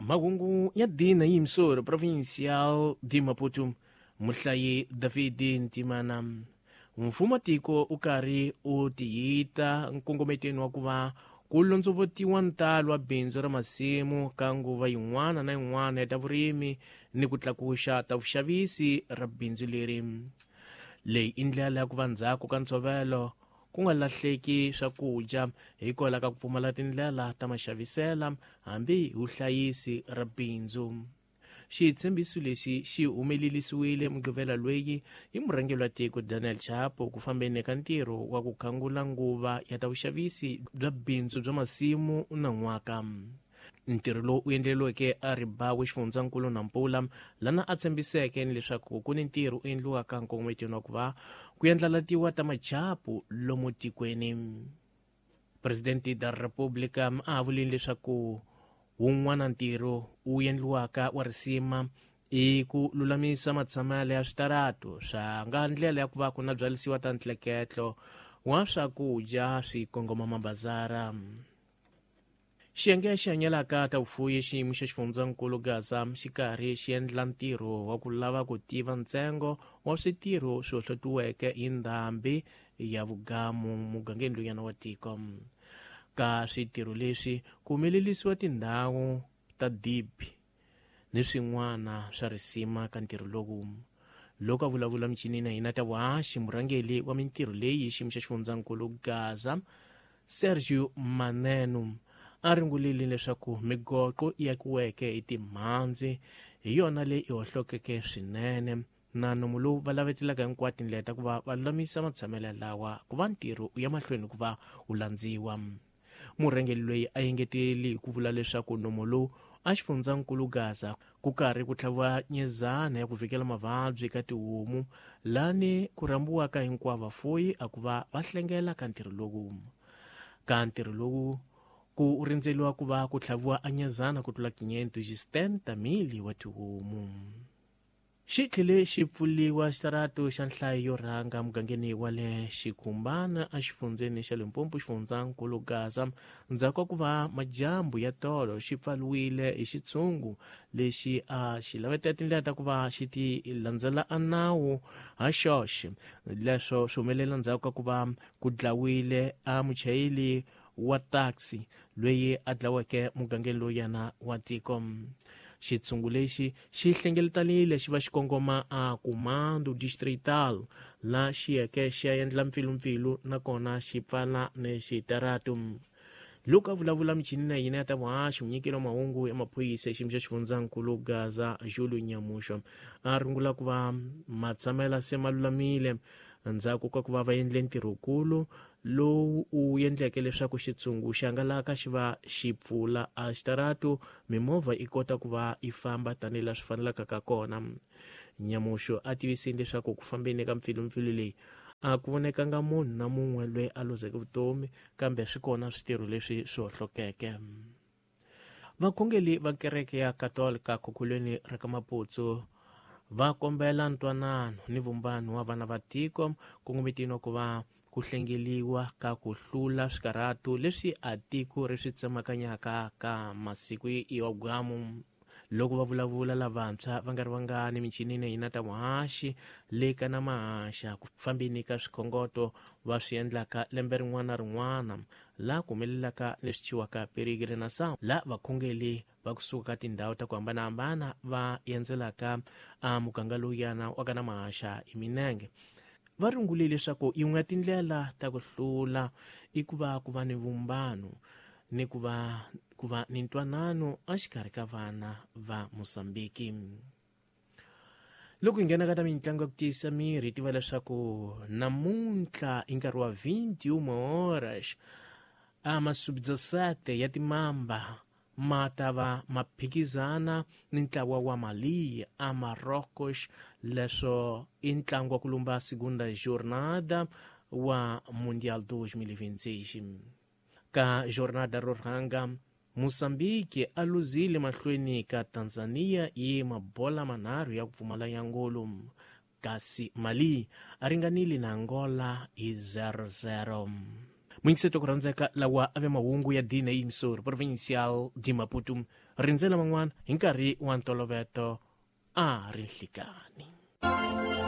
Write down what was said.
Mahungu ya dina yimsoro provincial de Maputo muhlayi David Ntimana. Mfumo tiko u karhi u tiyita nkongometweni wa ku va ku londzovotiwa ntalo wa bindzu ra masimu ka nguva yin'wana na yin'wana ya ta vurimi ni ku tlakuxa ta vuxavisi ra bindzu leri. Leyi i ndlela ya ku va ndzhaku ka ntshovelo ku nga lahleki swakudya hikwalaho ka ku pfumala tindlela ta maxavisela hambi hi vuhlayisi ra bindzu. Xitshembiso lexi xi humelerisiwile Mugqivela loyi hi murhangeri wa tiko Daniel Chapo ku fambeni ka ntirho wa ku khangula nguva ya ta vuxavisi bya bindzu bya masimu na n'waka. Ntirho lowu u endleriweke a Ribawe xifundzankulu Nampula lana a tshembiseke ni leswaku ku ni ntirho u endliwaka nkongometweni wa ku va ku endlalatiwa ta machapu lomu tikweni. Presidente da República a vulile leswaku wun'wana ntirho wu endliwaka wa risima i ku lulamisa matshamelo ya switaratu swa nga ndlela ya ku va ku na byalisiwa ta ntleketlo wa swakudya swi kongoma mabazara. Xiyenge xi hanyelaka ta vufuyi xiyimo xa xifundzankulu Gaza xi karhi xi endla ntirho wa ku lava ku tiva ntsengo wa switirho swi hohlotiweke hi ndhambi ya vugamu mugangeni luyana wa tiko. Ka switirho leswi ku humelerisiwa tindhawu ta dibi ni swin'wana swa risima ka ntirho lowu. Loko a vulavula michini na hina ta vuhaxi murhangeri wa mintirho leyi xiyimo xa xifundzankulu Gaza Sergio Maneno a ringulile leswaku migoqo yi akiweke hi timhandzi hi yona leyi i hohlokeke swinene na nomu lowu va lavetelaka hinkwato tindlela ta ku va va lulamisa matshamelo lawa ku va ntirho u ya mahlweni ku va wu landziwa. Murhangeri loyi a engeteli hi ku vula leswaku nomu lowu a xifundzankulu Gaza ku karhi ku tlhaviwa nyezana ya ku vhikela mavabyi ka tihomu lani ku rhambiwaka hinkwavo vafuyi a ku va va hlengela ka ntirho lowu. Ka ntirho lowu ku rindzeliwa ku va ku tlhaviwa a nyezana ku tlula 570,000 wa tihomu. Xi tlhele xi pfuliwa xitaratu xa nhlayo yo rhanga mugangeni wa le Xikhumbana exifundzeni xa Limpopo xifundzankulu Gaza ndzhaku ka ku va madyambu ya tolo xi pfaliwile hi xitshungu lexi a xi lavetela tindlela ta ku va xi ti landzela a nawu ha xoxe. Leswo swi humelela ndzhaku ka ku va ku dlawile a muchayeri wa taxi loyi a dlaweke mugangeni lowuyana wa tiko. Xitshungu lexi xi hlengeletanile xi va xi kongoma a Comando Distrital la xi yeke xi ya endla mpfilumpfilu nakona xi pfala ni xitaratu. Loko a vulavula michini na yina ya ta vuhaxi munyikeli wa mahungu ya maphorisa xiyimo xa xifundzankulu Gaza Julio Nyamuxo a rungula ku va matshamela se ma lulamile ndzhaku ka ku va va endle ntirhokulu lowu u endleke leswaku xitshungu xi hangalaka xi va xi pfula a xitaratu mimovha yi kota ku va yi famba tanihi laha swi fanelaka ka kona. Nyamuxo a tivisile leswaku ku fambeni ka mpfilumpfilu leyi a ku vonekanga munhu na mun'we loyi a luzeke vutomi kambe swi kona switirho leswi swi hohlokeke. Vakhongeli va kereke ya Katolika khokhulweni ra ka Maputsu va kombela ntwanano ni vumbano wa vana va tiko kongometini wa ku va ku hlengeliwa ka ku hlula swikarhatu leswi a tiko ri swi tsemakanyaka ka masiku ya gwamu. Loko va vulavula lavantshwa va nga ri vangani michinini ya hina ta vuhaxi le ka na mahaxa ku fambeni ka swikhongoto va swi endlaka lembe rin'wana na rin'wana laha ku humelelaka leswi thyiwaka peregrinação laha vakhongeli va kusuka ka tindhawu ta ku hambanahambana va endzelaka a muganga lowuyana wa ka na mahaxa hi minenge. Va rungule leswaku yin'we ya tindlela ta ku hlula i ku va ku va ni vumbano ni ku va ni ntwanano exikarhi ka vana va Mozambiki. Loko hi nghena ka ta mitlangu ya ku tiyisa miri hi tiva leswaku namuntlha i nkarhi wa 21 horas a masubdasete ya timamba ma ta va ma phikizana ni ntlawa wa Mali a Marrocos. Leswo i ntlangu wa ku lumba segunda jornada wa Mundial 2026. Ka jornada ro rhanga Mozambique a luzile mahlweni ka Tanzania hi mabola manharhu ya ku pfumala ya ngolo, kasi Mali a ringanile na Angola hi 0-0. Muyingiseto ku rhandzeka lawa a ve mahungu ya dina yimisori provincial di Maputo. Rindzela man'wana hi nkarhi wa ntoloveto a ri nhlikani.